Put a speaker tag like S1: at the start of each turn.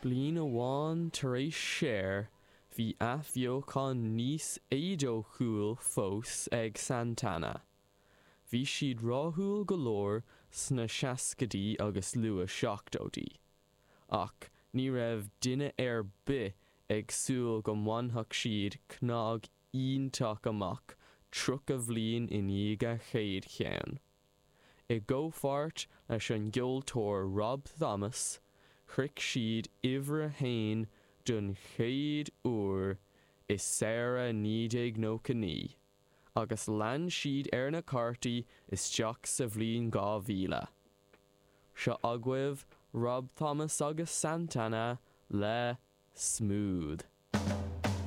S1: Bliain amháin tar éis Cher, bhí athbheochan níos éadóchúil fós ag Santana. Bhí siad rathúil go leor sna seascaidí agus luath seachtóidí, ach ní raibh duine ar bith ag súil go mbainfeadh siad cnag iontach amach 30 bhliain i ndiaidh a chéad cheann. I gcomhpháirt leis an gceoltóir Rob Thomas, shroich siad uimhir a haon don chéad uair i samhradh 1999, agus lean siad ar na cártaí isteach sa bhliain 2000. Seo agaibh Rob Thomas agus Santana le Smooth.